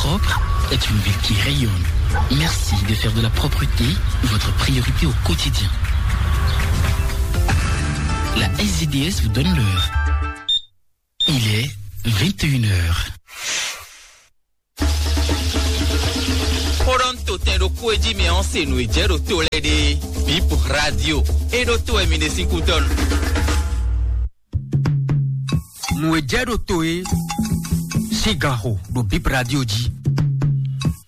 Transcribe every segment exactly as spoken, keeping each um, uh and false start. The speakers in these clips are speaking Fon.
Propre est une ville qui rayonne. Merci de faire de la propreté votre priorité au quotidien. La S D D S vous donne l'heure. Il est vingt et une heures. Xó ɖɔ nú totɛn ɖokpó e jí mɛ ɔ́ se nǔ e jɛ ɖo to lɛ́ɛ ɖe. Bip Radio. E ɖo to wɛ mi ɖe sín kútɔ́ nu. Nǔ e jɛ ɖo to é sín ganxo ɖo Bip Radio jí.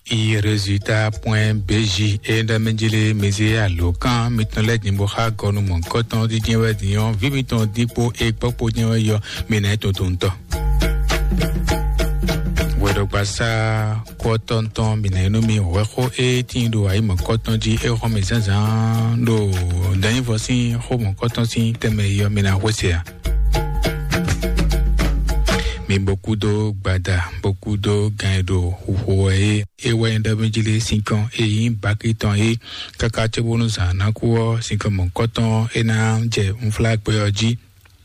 I résultat point B J e ɖɔ mɛ jí lé mezé alǒkan mitɔn lɛ́ɛ din bó xá gɔnu mɔ̌hunkɔtɔn dídín wɛ din ɔ́, vǐ mitɔn dín kpó e kpɔ́ kpó jɛ́n wɛ yɔ mi ná é tuntun tɔn. Wɛɖɔgbasá kɔ́tɔntɔn mi ná é nú mi hwɛxó e tíin ɖo ayǐ mɔ̌hunkɔtɔn jí é xɔ́n mɛ zǎnzǎn ɖo danyívɔ sín xó mɔ̌hunkɔtɔn sín tɛnmɛ yɔ mi ná xwé se ǎ. Mi bó kúdó gbada, bó kúdó gan e ɖo xuxo wɛ é. É wɛ nyí ɖɔ mɛ jí lé sinkɔn e nyí baki tɔn é, káká cóbónú zǎn ná kú ɔ́, sinkɔn mɔ̌kɔtɔn é ná jɛ unflágbɛ ɔ́ jí,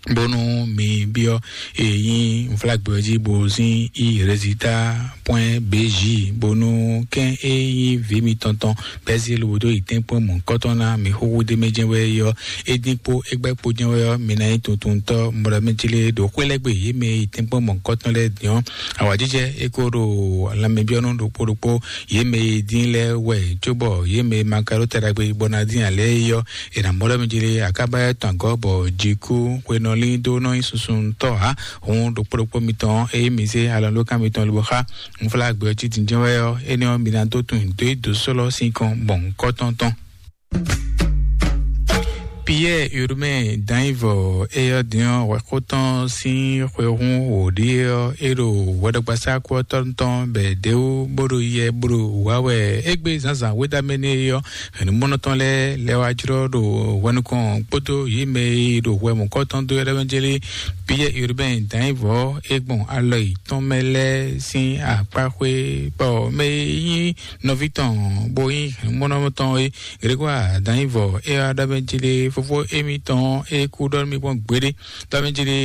bónú mi byɔ́ e nyí unflágbɛ ɔ́ jí bó zín i rézita pwɛ́n B J, bónú kɛ́n e nyí vǐ mitɔn tɔn bɛ́ zé lobo dó yi tɛ́nkpɔ́n mɔ̌kɔtɔn ná mi xúxú d'é mɛ jɛ́n wɛ é ɔ́, é dín kpó é gbɛ́ kpo jɛ́n wɛ ɔ́, mi ná nyí tuntuntɔ́ mɔɖɔmɛjlé ɖo xwé lɛ́ɛ gbe yě mɛ e yi tɛ́nkpɔ́n mɔ̌kɔtɔn lɛ́ɛ din ɔ́. Awǎjijɛ é ko ɖo lanmɛbyɔ́nú ɖokpó ɖokpó yě mɛ e dín lɛ́ɛ wɛ, cóbɔ yě mɛ e ma ka ɖó ta ɖagbe bɔ ná dín ǎ lɛ́ɛ é ɔ́, è nǎ mɔ ɖɔ mɛ jlé akába tɔn agɔ̌ bɔ jǐkú hwenɔlí dó nɔ nyí susuntɔ́ ǎ. Hǔn ɖokpó ɖokpó mitɔn ɔ́, ényí mi zé alɔlókan mitɔn lobo xá unflágbɛ ɔ́ cí din jɛ́n wɛ ɔ́, énɛ́ ɔ́, mi ná dó tunwun dó yi dǒ sɔ́ lɔ sín kɔn gbɔn kɔ́tɔ́ntɔn. Piyɛ́ɛ Urbain Dannyivɔ, é ɔ́ din ɔ́, hwɛxótɔn sín xwehún wǒ ɖíe ɔ́, é ɖo hwɛɖɔgbasá kú ɔ́ tɔ́ tɔn bɛ dě wú bó ɖo yɛ bó ɖo wǎ wɛ. Égbé zǎnzǎn wéɖamɛ nɛ́ é ɔ́, hɛ̌nnumɔ́nɔ tɔn lɛ́ɛ lɛ́ wá jlɔ́ ɖo hwɛ nukɔn kpódó yě mɛ e ɖo hwɛ mɔ̌kɔtɔn dó é ɖɔ́ mɛ jlé. Piyɛ́ɛ Urbain Dannyivɔ, é gbɔn alɔ yětɔn mɛ lɛ́ɛ sín akpáxwé, bɔ mɛ e nyí nɔví tɔn bó nyí hɛ̌nnumɔ́nɔ tɔn é, Grégoire Dannyivɔ, é wá ɖɔ mɛ jlé fofó émítɔn é kú ɖɔ nú mì gbɔn gbeɖé. Ɖɔ mɛ jlé,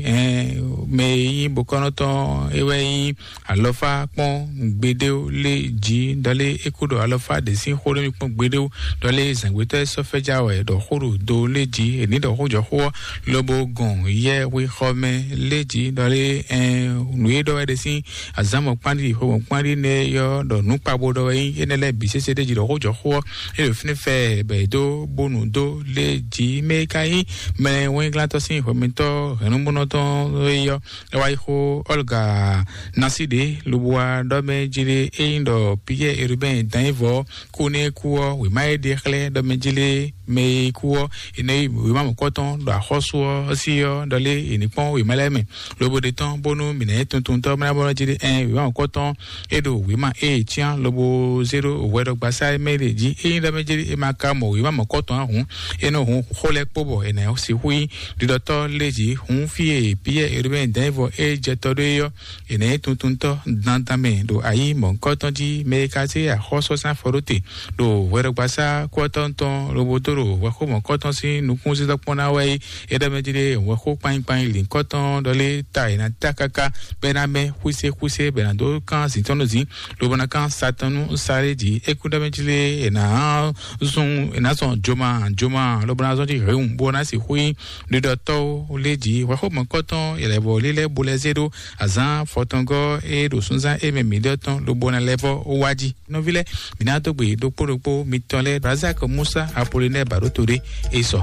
ɛn, mɛ e nyí bokɔ́nɔtɔn é wɛ nyí alɔfá kpɔ́n gbeɖéwo lé jí, ɖɔlé é kú ɖɔ alɔfá ɖě sín xó ɖo mì kpɔ́n gbeɖéwo, ɖɔlé zǎngbétɔ́ é sɔ́ fɛ́já wɛ ɖɔ xó ɖo do lé jí, è ní ɖɔ xó jɔ xó ɔ́, lobo gɔn yɛ hwixɔ mɛ lé jí, ɖɔlé, ɛn, nǔ e ɖɔ wɛ ɖe sín azǎn mɔ̌kpán ɖi xo mɔ̌kpán ɖi nɛ́ yɔ ɖɔ nǔ kpabo ɖɔ wɛ nyí énɛ́ lɛ́ɛ bǐ sésé ɖé jí ɖɔ xó jɔ xó ɔ́, é ɖo fínɛ́ fɛ bɛ é dó bónú dó lé jí mɛ e ka nyí mɛ wɛnglátɔ́ sín hwɛmɛtɔ́ hɛ̌nnumúnɔtɔn é yɔ. É wá yi xó Olga Nasiɖe lobo wá ɖɔ mɛ jí lé é nyí ɖɔ Piyɛ́ɛ Urbain Dannyivɔ kú nú é kú ɔ́, wěma e ɖe xlɛ́ ɖɔ mɛ jí lé mɛ e kú ɔ́, è nɔ yi wěma mɔ̌kɔtɔn ɖo axɔ́sú ɔ́ sí ɔ́, ɖɔ lé è ní kpɔ́n wěma lɛ́ɛ mɛ, lobo ɖe tɔn bónú mǐ ná nyí tuntuntɔ́ mlá bɔ jí ɖe ɛn wěma mɔ̌kɔtɔn é ɖo wěma ée cyán lobo zé ɖó hwɛɖɔgbasá e mɛ ɖe jí. Ényí ɖɔ mɛ jí é ma ka mɔ wěma mɔ̌kɔtɔn ǎ hǔn, é nɔ hun xó lɛ́ɛ kpó bɔ è nǎ sixú nyí ɖiɖɔtɔ́ lé jí. Hǔn fí e Piyɛ́ɛ Herubɛ́n Dɛ̌nvɔ é jɛ tɔ ɖó é ɔ́, è nǎ nyí tuntuntɔ́ dandan mɛ ɖo ayǐ mɔ̌hunkɔtɔn jí. Mɛ e ka zé axɔ́súzán afɔ ɖó te ɖo hwɛɖɔgbasá kútɔn tɔn lobo dó ɖo hwɛxó mɔ̌kɔtɔn sín nukúnzízɔ́ kpɔ́n ná wɛ é. É ɖɔ mɛ jí ɖé hwɛxó kpanyí kpanyí lǐnkɔ́tɔn ɖɔ lé ta è nǎ ta káká bɔ é ná mɛ xwísé xwísé bɔ è nǎ dó kán zǐn tɔn nú zǐn, lobo ná kán sa tɔn nú sa ɖé jí. É kún ɖɔ mɛ jí lé è nǎ zun è nǎ zɔn joma joma lobo ná zɔn jí hɛ̌wun bó ná sixú nyí ɖiɖɔtɔ́ lé jí. Hwɛxó mɔ̌kɔtɔn è lɛ̌ vɔ lílɛ́ bo lɛ́ zé ɖó azǎn fɔtɔngɔ́ e ɖo súnzán émɛ mǐ ɖɔ tɔn lobo ná lɛ́ vɔ wá jí. Nɔví lɛ́ɛ, mǐ ná dó gbe ɖokpó ɖokpó mitɔn lɛ́ɛ, Razak Musa Apolinɛ́ɛ Baɖóto ɖé é sɔ.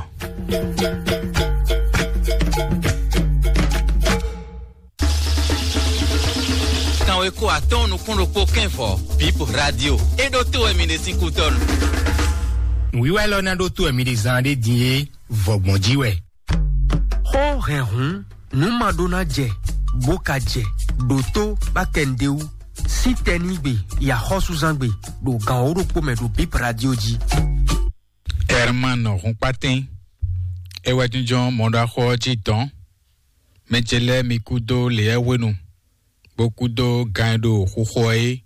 Kanweko atɔ́ɔ́n nukún ɖokpó kɛ́nvɔ, Bip Radio, é ɖótó wɛ mi ɖe sín kútɔ́nu. Nǔwiwa élɔ́ ná ɖótó wɛ mi ɖe zán ɖé din é, vɔ̌gbɔn jí wɛ. Xó hɛn hǔn, nǔ ma ɖó ná jɛ, bó ka jɛ, ɖǒtó bá kɛ nǔɖé wú, sín tɛnígbe, yi axɔ́súzángbe, ɖo gan wǒ ɖokpó mɛ ɖo Bip Radio jí. Herman Hunpatɛn, é wɛ jínjɔ́n mɔɖaxó ɔ́ jí dɔn. Mɛ ce lɛ́ɛ mi kúdó lěɛ́ hwenu, bó kúdó gan e ɖo xuxo ɔ́ é.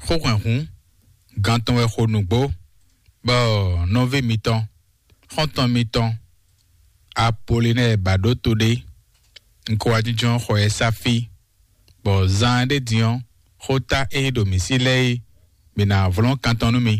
Xó hwɛ̌nhún, gan tɔn wɛ xo nǔgbó, bɔ nɔví mitɔn, xɔ́ntɔn mitɔn, Apolinɛ́ɛ ba ɖó to ɖé. Un ko wá jínjɔ́n xɔ ɛ sá fí, bɔ zaan ɖé din ɔ́, xóta e ɖo mǐ sí lɛ́ɛ é, mǐ ná vlɔ́n kan tɔn nú mi.